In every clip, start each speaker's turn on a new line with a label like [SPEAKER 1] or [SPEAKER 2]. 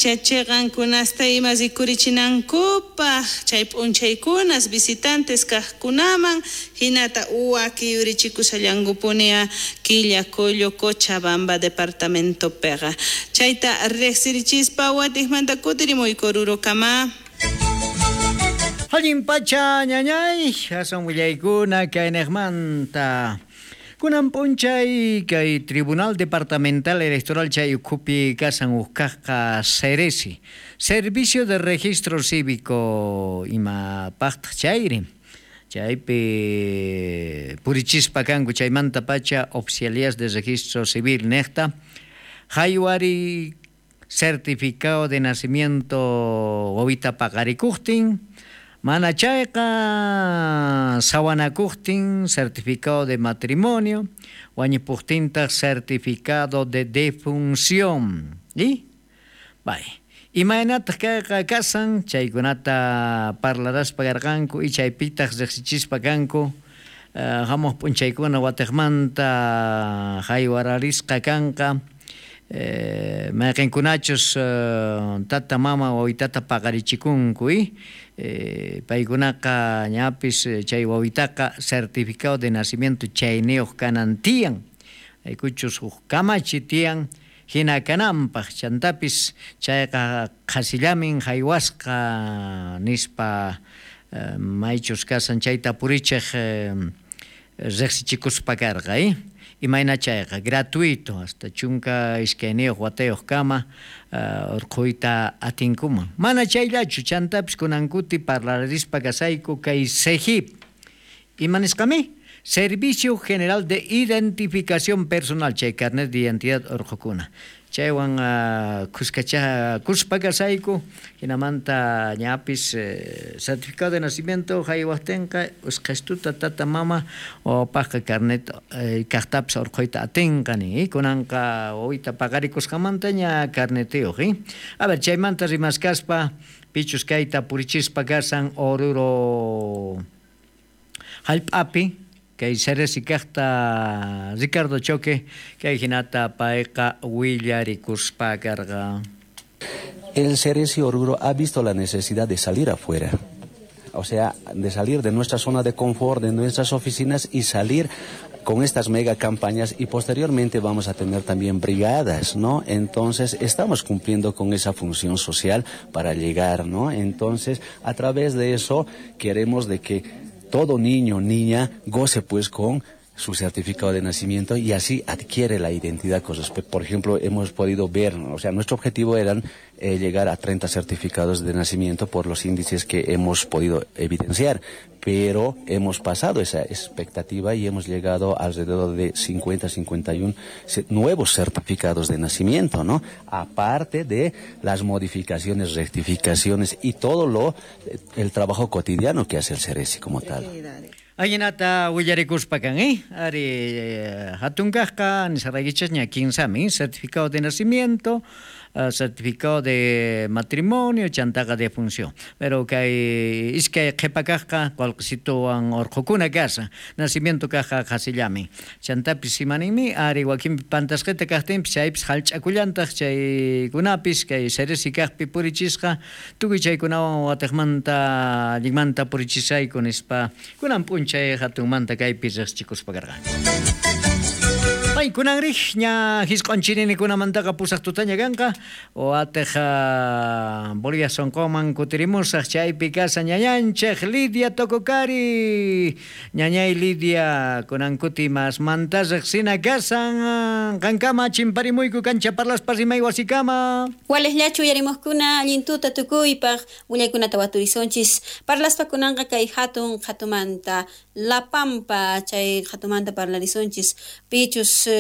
[SPEAKER 1] Pacha chiqankunasta ima rikurichinankupaq chay p'unchaykunas visitantes kaqkunaman hinata wakiyurichikushallankupunia Quillacollo Cochabamba departamentopiqa chayta riqsirichispa watiqmanta kutirimuyku Orurokama.
[SPEAKER 2] Allin pacha ñañay, aswan willaykuna kayniqmanta. Kunan p'unchay kay Tribunal Departamental Electoral chay ukhupi kasan ukkaqqa Ceresi, Servicio de Registro Cívico imapaqtaq chayri. Chaypi purichispa kanku chaymanta pacha oficialías de registro civil niqta haywari certificado de nacimiento wawita paqarikuqtin mana chayqa sawanakuqtin certificado de matrimonio wañupuqtintaq certificado de defunción. ¿Y? Bay. Imaynataq kayqa kasan chaykunata parlaraspa karqanku y chaypitaq riqsichispa kanku hamuq p'unchaykuna watiqmanta haywararisqa kanqa mayqinkunachus tata mama wawitata paqarichikunku y paykunaqa ñapis chay wawitaqa certificado de nacimiento chayniyuq kanan tiyan aykuchus huk kamachi tiyan hina kananpaq chantapis chayqa qhasillamin haywasqa nispa maychus kasan chayta purichiq riqsichikuspa karqa imayna chayqa gratuito hasta chunka iskayniyuq watayuq kama urquyta atinkuman mana chayllachu chantapis kunankuti parlarispa kasayku kay SEGIP ima nisqami Servicio General de Identificación Personal chay carnet de identidad urqukuna chaywan kuskacha kuspa kasayku hinamanta ñapis certificado de nacimiento haywaqtinqa usqhastuta tata mama wawapaqqa carnet kaqtapis urquyta atinqa nin kunanqa wawita paqarikusqamanta ña carnetiyuq. A ver chaymanta rimaskaspa pichus kayta purichispa kasan Oruro hallp'api kay Ceresi kaqta Ricardo Choque kay hinata payqa willarikuspa karqa.
[SPEAKER 3] El Ceresi Oruro ha visto la necesidad de salir afuera, o sea, de salir de nuestra zona de confort, de nuestras oficinas y salir con estas mega campañas y posteriormente vamos a tener también brigadas, ¿no? Entonces estamos cumpliendo con esa función social para llegar, ¿no? Entonces, a través de eso queremos de que todo niño, niña, goce pues con su certificado de nacimiento y así adquiere la identidad con respecto. Por ejemplo, hemos podido ver, o sea, nuestro objetivo eran llegar a 30 certificados de nacimiento por los índices que hemos podido evidenciar, pero hemos pasado esa expectativa y hemos llegado alrededor de 50, 51 nuevos certificados de nacimiento, ¿no? Aparte de las modificaciones, rectificaciones y todo el trabajo cotidiano que hace el Ceresi como tal.
[SPEAKER 2] Ahinata willarikuspa kan, Ari hatunkaqqa nisaraykichis ña kinsami, certificado de nacimiento, certificado de matrimonio, chantaqa de función. Pero kay iskay qhipakaqqa qullqisituwan urqukuna kasa, nacimiento kaqqa qhasillami. Chantapis imaninmi, ari wakinpi pantasqita kaqtinpis chaypis hallch'akullantaq chaykunapis kay Ceresi kaqpi purichisqa tukuy chaykunawan watiqmanta allinmanta purichisayku nispa kunan p'unchay hatunmanta kaypi riqsichikuspa karqa. Ay, kunan riq ña hisq'onchirinikunamantaqa pusaq tutaña kanqa watiq Bolivia sonqoman kutirimusaq chaypi kasa ñañanchik Lidia Tococari ñañay Lidia kunan kuti masmanta riqsina kasan qankama chimparimuyku kancha parlaspa rimay wasikama
[SPEAKER 4] Waleslachu uyarimuqkuna allintuta tukuypaq willaykunata waturisonchis parlaspa kunanqa kay hatun hatumanta La Pampa chay hatumanta parlarisonchis pichus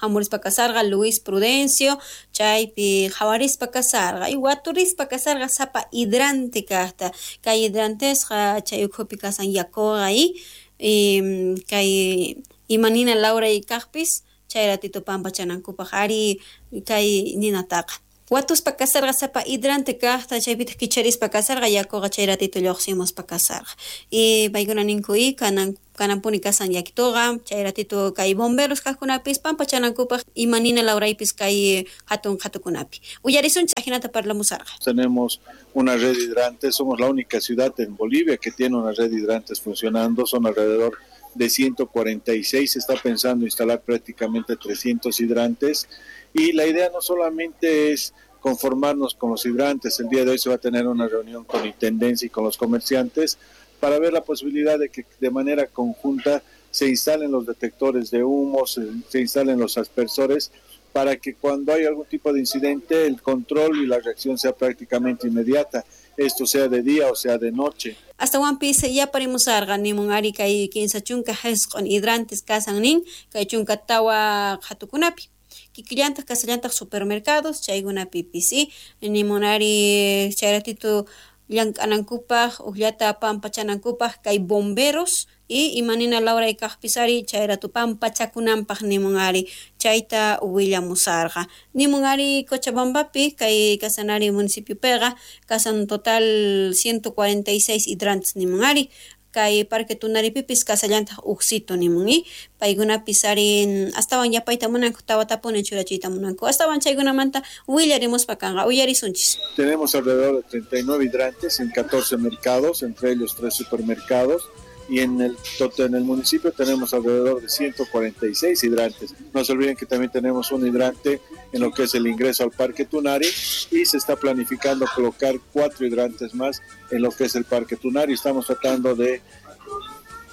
[SPEAKER 4] hamurispa kasarqa Luis Prudencio chaypi qhawarispa kasarqa y waturispa kasarqa sapa hidrante kaqta kay hidrantesqa chay ukhupi kasan yakuqa y kay imanina Laura y kaqpis chay ratito pampachanankupaq ari kay ninataqa. Watuspa kasarqa sapa hidrante kaqta chaypitaq kicharispa kasarqa yakuqa chay ratito lluqsimuspa kasarqa. Y paykuna ninku y kananpuni kasan yakituqa chay ratito kay bomberos kaqkunapis pampachanankupaq ima nina lawraypis kay hatun qhatukunapi. Uyarisunchis ajinata parlamusarqa.
[SPEAKER 5] Tenemos una red de hidrantes, somos la única ciudad en Bolivia que tiene una red de hidrantes funcionando, son alrededor de 146, se está pensando instalar prácticamente 300 hidrantes y la idea no solamente es conformarnos con los hidrantes, el día de hoy se va a tener una reunión con Intendencia y con los comerciantes para ver la posibilidad de que de manera conjunta se instalen los detectores de humo, se instalen los aspersores, para que cuando hay algún tipo de incidente el control y la reacción sea prácticamente inmediata, esto sea de día o sea de noche.
[SPEAKER 4] Astawanpis yaparimusarqa nimun ari kay 30 hesq'un hidrantes kasan nin kay 14 qhatukunapi. Kikillantaq kasallantaq supermercados chaykunapipis y nimun ari chay ratito llank'anankupaq uqllata pampachanankupaq kay bomberos y imanina lawray kaqpis ari chay rato pampachakunanpaq nimun ari chayta willamusarqa. Nimun ari Cochabambapi kay kasanari municipiopiqa kasan total 146 hidrantes nimun ari kay Parque Tunaripipis kasallantaq uqsito nimun y paykunapis ari astawan yapayta munanku tawatapuni churachiyta munanku astawan chaykunamanta willarimuspa kanqa uyarisunchis.
[SPEAKER 5] Tenemos alrededor de 39 hidrantes en 14 mercados, entre ellos 3 supermercados, y en el municipio tenemos alrededor de 146 hidrantes. No se olviden que también tenemos un hidrante en lo que es el ingreso al Parque Tunari y se está planificando colocar 4 hidrantes más en lo que es el Parque Tunari. Estamos tratando de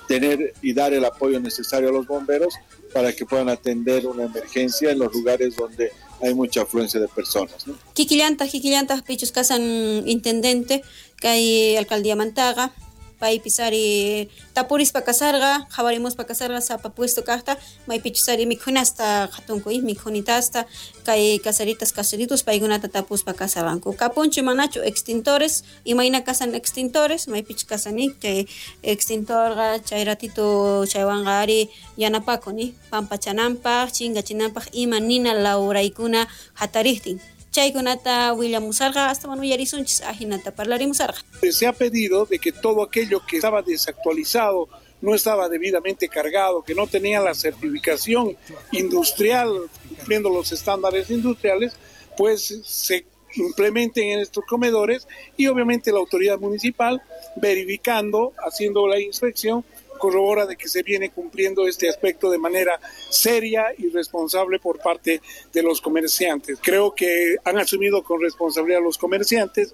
[SPEAKER 5] tener y dar el apoyo necesario a los bomberos para que puedan atender una emergencia en los lugares donde hay mucha afluencia de personas, ¿no?
[SPEAKER 4] Kikillantaq pichus kasan intendente kay alcaldía Mantaga paypis ari tapurispa kasarqa qhawarimuspa kasarqa sapa puesto kaqta maypichus ari mikhunasta qhatunku y mikhunitasta kay kasaritas kasaritos paykunata tapuspa kasarqanku kapunchu manachu extintores imayna kasan extintores maypichus kasani chay extintorqa chay ratito chaywanqa ari yanapakun pampachananpaq chinkachinanpaq ima nina lawraykuna hatariqtin. Chaykunata willamusarqa astawan uyarisunchis ajinata parlarimusarqa.
[SPEAKER 6] Se ha pedido de que todo aquello que estaba desactualizado, no estaba debidamente cargado, que no tenía la certificación industrial, cumpliendo los estándares industriales, pues se implementen en estos comedores y obviamente la autoridad municipal verificando, haciendo la inspección, corrobora de que se viene cumpliendo este aspecto de manera seria y responsable por parte de los comerciantes. Creo que han asumido con responsabilidad los comerciantes.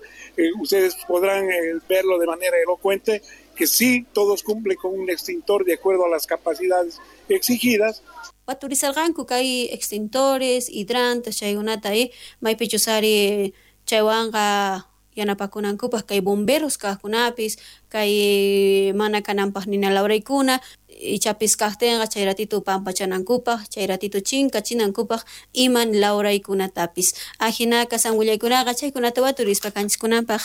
[SPEAKER 6] Ustedes podrán verlo de manera elocuente, que sí, todos cumplen con un extintor de acuerdo a las capacidades exigidas.
[SPEAKER 4] Waturizarqanku kay extintores, hidrantes, chaykunata maypichus ari chaywanqa yanapakunankupaq kay bomberos kaqkunapis kay mana kananpaq nina lawraykuna ichapis kaqtinqa chay ratito pampachanankupaq chay ratito chinkachinankupaq ima lawraykunatapis ajina kasan willaykunaqa chaykunata waturispa kanchiskunanpaq.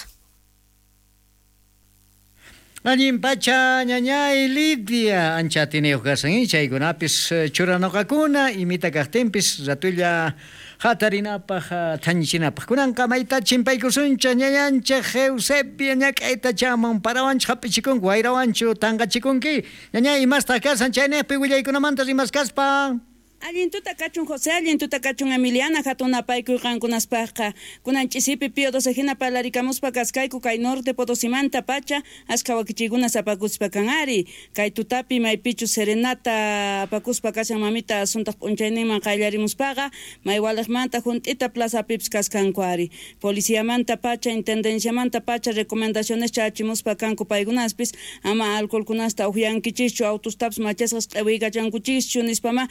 [SPEAKER 2] Allin pacha ñañay Lidia ancha atiniyuq kasan chaykunapis churanoqakuna imita kaqtinpis ratulla hatarinapaq thañichinapaq kunanqa mayta chimpaykusuncha ñañanchik Eusebia ñak'ayta chamun parawanchu hap'ichikunki wayrawanchu tanqachikunki ñañay imastaq kasan chayniqpi willaykunamanta rimaskaspa.
[SPEAKER 7] Allin tuta kachun José, allin tuta kachun Emiliana, hatun apaykuy qankunaspaqqa. Kunan ch'isipi Pío XII hina parlarikamuspa kaskayku kay norte Potosimanta pacha, ashka wakichikunas apakuspa kan ari. Kay tutapi maypichu serenata apakuspa kashan mamita asuntaq p'unchayninman qayllarimuspaqa, maywalaqmanta junt'ita plazapipis kaskanku ari. Policiamanta pacha, intendenciamanta pacha, recomendaciones chachimuspa kanku paykunaspis, ama alcoholkunasta uqyankichischu, autostapis machasqas q'iwiykachankuchischu nispama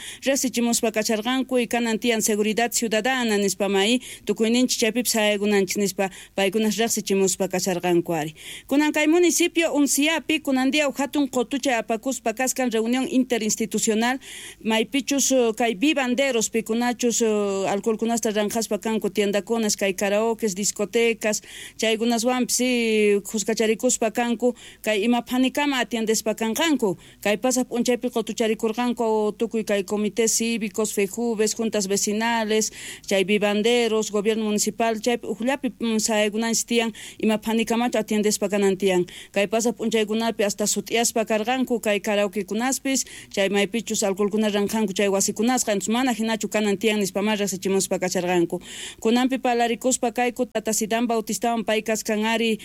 [SPEAKER 7] chimuspa kacharqanku y kanan tiyan seguridad ciudadana nispama y tukuyninchik chaypipis haykunanchik nispa paykunas riqsichimuspa kacharqanku ari. Kunan kay municipio Unciapi kunan día hatun qotuchay apakuspa kaskan reunión interinstitucional maypichus kay vivanderos pikunachus alcoholkunasta ranqaspa kanku tiendakunas kay karaokes discotecas chaykunaswanpis kuskacharikuspa kanku kay ima phanikama atiendespa kanqanku kay pasaq p'unchaypi qotucharikurqanku tukuy kay comité cívicos, FEJUVES, juntas vecinales, chay vivanderos, gobierno municipal, chaypi ujllapi sayaykunanchis tiyan ima phanikamachu atiendespa kanan tiyan. Kay pasaq p'unchaykunapi hasta sut'iyaspa karqanku kay karaokekunaspis, chay maypichus alcoholkuna ranqanku chay wasikunasqa, entonces mana hinachu kanan tiyan nispamá riqsichimuspa kasharqanku. Kunanpi parlarikuspa kayku tata Zidane Bautistawan pay kaskan ari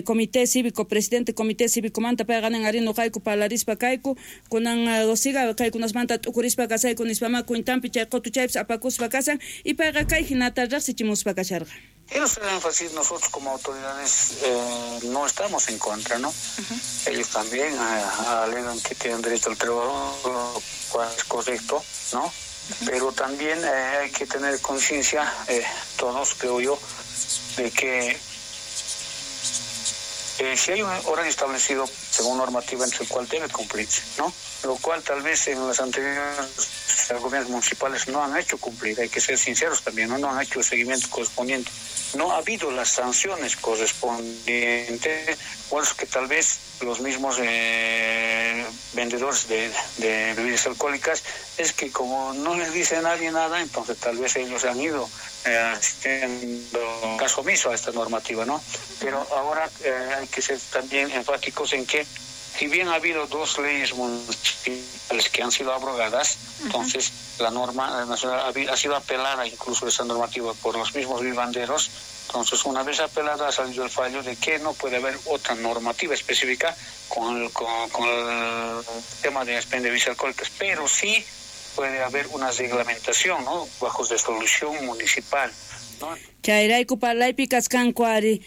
[SPEAKER 7] comité cívico, presidente comité cívicomanta payqa nin ari nuqayku parlarispa kayku, kunan siga kaykunasmanta t'ukurispa kasayku nispamá cuentanpi chay qutuchaypis apakuspa kasan y payqa kay hinata riqsichimuspa kasharqa.
[SPEAKER 8] Quiero hacer énfasis, nosotros como autoridades no estamos en contra, ¿no? Ellos también alegan que tienen derecho al trabajo, lo cual es correcto, ¿no? Pero también hay que tener conciencia, todos, creo yo, de que si hay un horario establecido según normativa entre el cual debe cumplirse, ¿no? Lo cual tal vez en las anteriores gobiernos municipales no han hecho cumplir, hay que ser sinceros también, ¿no? No han hecho el seguimiento correspondiente, no ha habido las sanciones correspondientes, bueno, que tal vez los mismos vendedores de bebidas alcohólicas, es que como no les dice nadie nada, entonces tal vez ellos han ido haciendo caso omiso a esta normativa, ¿no? Pero ahora hay que ser también enfáticos en que si bien ha habido dos leyes municipales que han sido abrogadas, entonces la norma nacional ha sido apelada incluso esa normativa por los mismos vivanderos. Entonces, una vez apelada ha salido el fallo de que no puede haber otra normativa específica con el tema de expendio de bebidas alcohólicas, pero sí puede haber una reglamentación, ¿no?, bajo resolución municipal, ¿no?
[SPEAKER 7] Chayrayku parlaypi kaskanku ari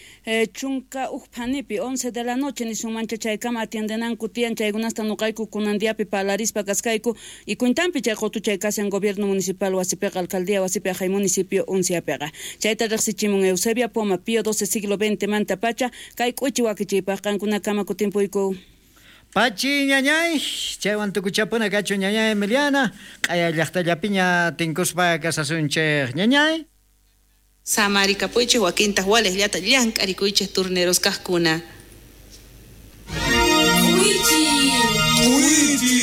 [SPEAKER 7] chunka uj phanipi 11 de la noche nisunmancha chaykama atiendenanku tiyan chaykunasta nuqayku kunan diapi parlarispa kaskayku y cuentanpi chay qutuchay kashan gobierno municipal wasipiqa alcaldía wasipi ajay municipio Unciapiqa. Chayta riqsichimun Eusebia Poma Pío XII siglo XX manta pacha kay k'uchi wakichiypaq qankunakama kutimpuyku.
[SPEAKER 2] Pachi ñañay, chaywan tukuchapuna kachu ñañay Emiliana, q'aya llaqtallapiña tinkuspa kasasunchej ñañay.
[SPEAKER 1] Samarikapuychej wakintaq walejllata llank'arikuychej turneros kaqkuna.
[SPEAKER 9] K'uichi! K'uichi!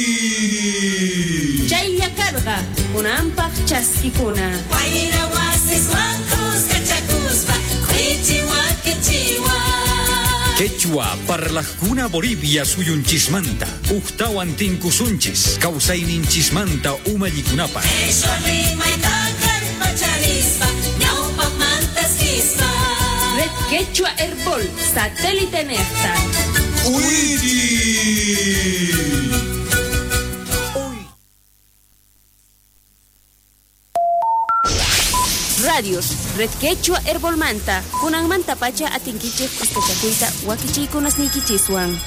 [SPEAKER 9] Chaylla karqa kunanpaq chaskikuna.
[SPEAKER 10] Wayra wasiswan kuskachakuspa k'uichi wakichiwan.
[SPEAKER 11] Quechua parlajkuna Bolivia suyunchismanta, ujtawan tinkusunchis, kawsayninchismanta umallikunapaq.
[SPEAKER 10] Qhishwa rimayta kallpacharispa ñawpaqmanta sispa.
[SPEAKER 9] Red Quechua Herbol, satélite nefta. Radios, Red Quechua Herbolmanta, kunanmanta pacha atinkichej kuskachakuyta wakichiykunasniykichiswan.